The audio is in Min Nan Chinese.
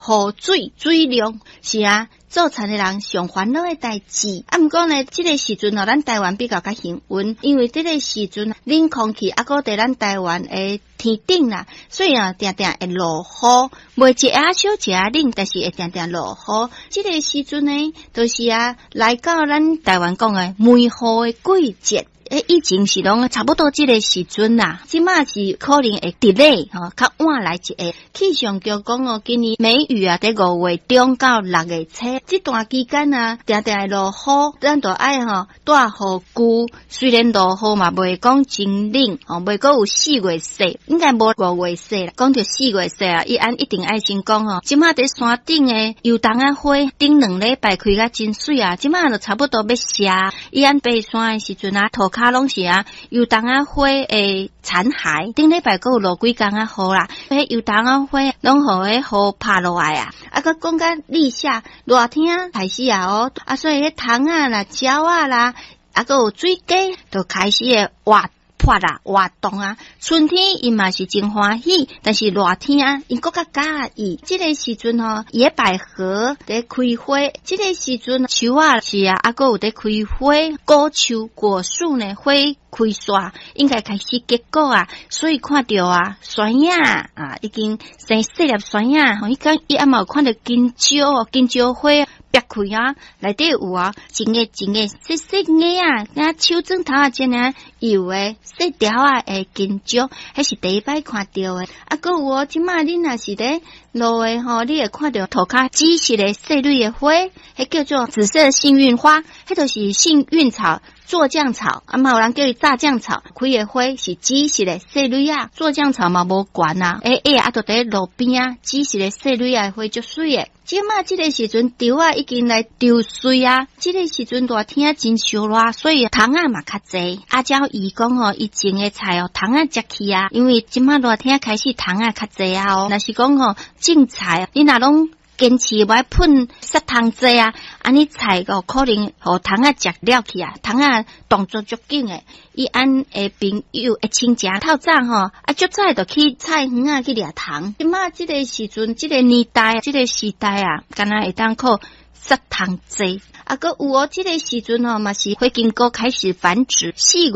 雨水水量是啊，做田的人上煩惱的代誌。啊，毋過呢，這個時陣哦，咱台灣比較較幸運，因為這個時陣冷空氣猶閣佇咱台灣的天頂啦，所以啊，定定會落雨，袂一下小一下冷，但是會定定落雨。這個時陣呢，就是啊，來到咱台灣講的梅雨的季節。欸，以前是攏差不多這個時陣啦，這馬是可能會 delay 吼，較晚來一下。氣象局講哦，今年梅雨啊，佇5月中到6月初，這段期間啊，定定會落雨，咱就愛吼帶雨具。雖然落雨嘛，袂講真冷，吼，袂閣有四月雪，應該無五月雪啦。講著四月雪啊，伊按一定愛先講吼。這馬佇山頂的油桐仔花，頂兩禮拜開甲真媠啊，這馬就差不多欲謝。伊按爬山的時陣啊，塗跤攏是啊，油桐仔花的殘骸。頂禮拜閣有落幾工仔雨啦，彼油桐仔花攏予彼雨拍落來啊。啊，閣講甲立夏熱天開始啊哦，啊，所以彼蟲仔啦、鳥仔啦，啊，閣有水雞，就開始會活潑啦、活動啊。春天𪜶嘛是真歡喜，但是熱天啊，𪜶閣較佮意。這個時陣吼，野百合佇開花，這個時陣樹仔是啊，猶閣有佇開花，果樹果樹呢花開煞，應該開始結果啊，所以看著啊，酸葉啊，已經生細粒酸葉，吼，彼工伊猶嘛有看著金蕉，金蕉花。煏開啊，內底有啊，一个一个細細个啊，若手指頭仔遮爾幼的細條仔的金蕉，彼是第一擺看著的。啊，閣有哦，這馬恁若是佇路的吼，你會看著塗跤紫色的細蕊的花，彼叫做紫色幸運花，彼就是幸運草。酢醬草，啊嘛有人叫伊炸醬草，開的花是紫色的細蕊仔，酢醬草嘛無懸啊，欸欸啊，就佇路邊啊，紫色的細蕊仔的花足媠的。這馬這個時陣，稻仔已經來抽穗啊，這個時陣熱天真燒熱，所以蟲仔嘛較濟。阿嬌伊講吼，伊種的菜哦，蟲仔食去啊，因為這馬熱天開始蟲仔較濟啊哦。若是講吼種菜，你若攏堅持無愛噴殺蟲劑啊，按呢菜哦可能予蟲仔食了去啊，蟲仔動作足緊的。伊按的朋友的親戚透早吼，啊足早就去菜園仔去掠蟲。這馬這個時陣，這個年代，這個時代啊，敢若會當靠殺蟲劑。啊，閣有哦，這個時陣吼嘛是火金姑開始繁殖，4月。